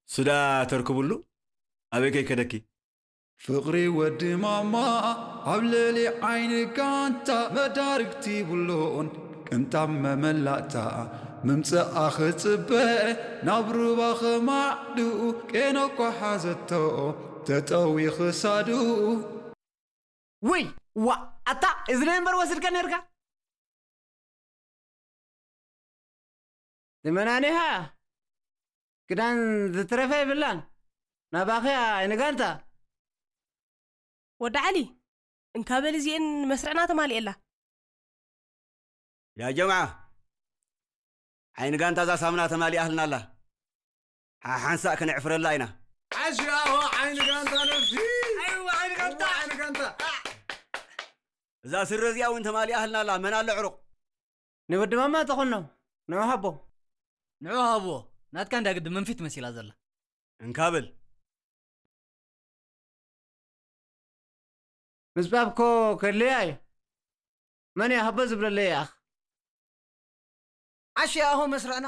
ስዳ ተርክብሉ ኣበይ ከይከደኪ? ፍቕሪ ወዲ ማማ ኣብ ልዕሊ ዓይኒ ጋንታ መዳርግቲ ይብሉን ቅንጣብ መመላእታ ምምፅኣ ክፅበ ናብ ሩባ ኸማዕድኡ ቄኖ እኳ ሓዘቶ ተጠዊ ክሳዱ። ውይ ዋ ኣታ እዚ ናይ እምበር ወስድካ ነርካ። ዝመናኒኻ ክዳን ዝትረፈ ይብላን ናባኸያ ንጋንታ። ወዲ ዓሊ እንካ በል እዚኤን መስርዕና ተማሊኤላ። ያ ጀምዓ ዓይኒ ጋንታ እዛ ሳምና ተማሊኣህልና ኣላ። ሓሓንሳእ ከነዕፍረላ ኢና። ዓሽያዋ ዓይኒ ጋንታ ነብሲ። ዓይኒ ጋንታ። ዓይኒ ጋንታ። እዛ ስረ እዚኣ እውን ተማሊኣህልና ኣላ። መን ኣሎ ዕሩቕ? ንወዲ ማማ ተኾኖ ንዑ ሃቦ። ንዑ ሃብዎ። ናትካ እንዳ ግዲ መንፊት መሲላ ዘላ። እንካብል ምጽባብ ኮ ከድልያ እዩ። መን እያ ሃቦ ዝብለለይ ይኣኽ? ዓሽ ኣሆ መስርዕና